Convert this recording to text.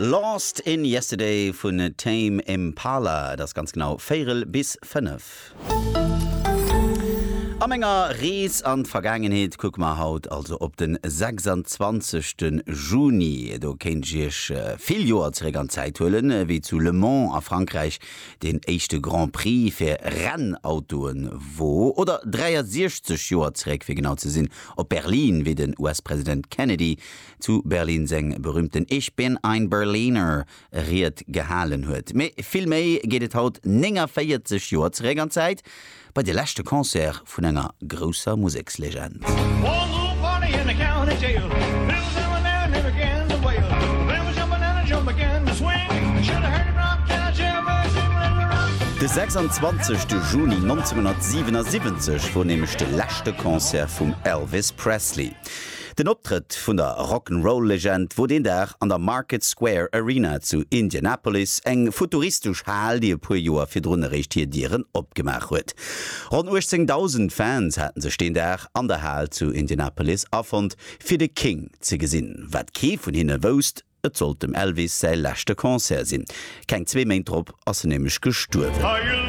Lost in Yesterday vun Tame Impala. Et ass ganz genau véirel bis 5. A menger Rees an d'Vergaangenheet kucke mer haut also op den 26. Juni. Do kéint ech iech vill Joer zeréck an d'Zäit huelen, wéi zu Le Mans a Frankräich deen éischte Grand Prix fir Rennautoe wor. Oder 63 Joer zeréck, fir genau ze sinn, op Berlin, wéi den US-President Kennedy zu Berlin seng berühmten Ich bin ein Berliner Ried gehalen huet. Mee vill méi geet et haut 49 Joer zeréck an d'Zäit, bei de leschte Concert vun enger grousser Musekslegend. De 26 Juni 1977 wor nämlech de leschte Concert vum Elvis Presley. Den Optrëtt vun der Rock'n'Roll-Legend wor deen Dag an der Market Square Arena zu Indianapolis, eng futuristesch Hal, déi e puer Joer virdrun eréischt hir Dieren opgemaach huet. Ronn 18.000 Fans haten sech deen Dag an der Hal zu Indianapolis afonnt, fir de King ze gesinn. Wat kee vun hinne wousst, Et sollt dem Elvis säi leschte Concert sinn. Keng zwee Méint drop ass en nämlech gestuerwen.